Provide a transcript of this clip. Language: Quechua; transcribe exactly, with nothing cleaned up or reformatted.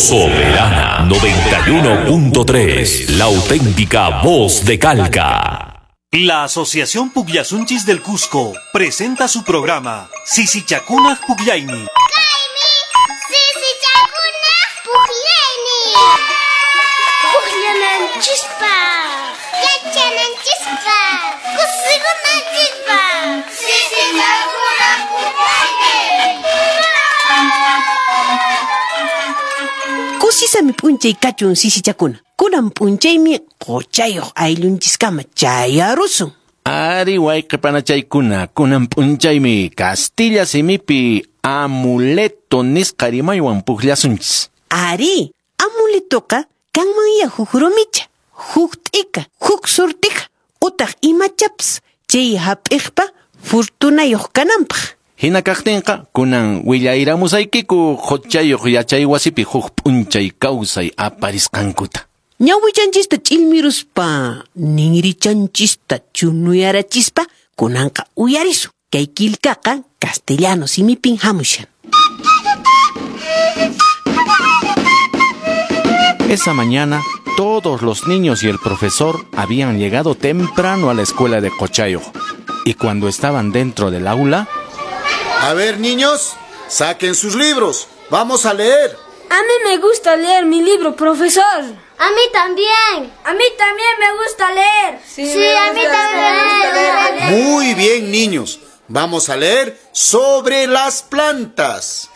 Soberana noventa y uno punto tres, la auténtica voz de Calca. La Asociación Pukllasunchis del Cusco presenta su programa Sisichakunaj Pukllaymi. Sisichakunaj Pukllaymi. Pukllananchispaq, yachananchispaq, kusikunanchispaq. Sisichakunaj Pukllaymi. Kusisami p'unchay kachun sisichakuna. Kunan p'unchaymi quchayuq ayllunchiskama chayarusun. Ari wayqipanachaykuna, kunan p'unchaymi Castilla simipi amuleto nisqa rimaywan pukllasunchis. Ari, amuletoqa kanmanya huk rumicha, huk t'ika, huk surtija, utaq imachapas chay hap'iqpa fortunayuq kananpaq. Hina kaqtinqa kunan willayramusaykiku quchayuq yachay wasipi huk p'unchay kawsay aparisqankuta. Ñawichanchista ch'ilmiruspa, ninrichanchista chunuyarachispa, kunanqa uyarisun. Kay killkaqa castellano simipin hamushan. Esa mañana, todos los niños y el profesor habían llegado temprano a la escuela de Cochayo. Y cuando estaban dentro del aula... A ver, niños, saquen sus libros. Vamos a leer. A mí me gusta leer mi libro, profesor. A mí también. A mí también me gusta leer. Sí, sí a mí también me gusta leer. Muy bien, niños. Vamos a leer sobre las plantas.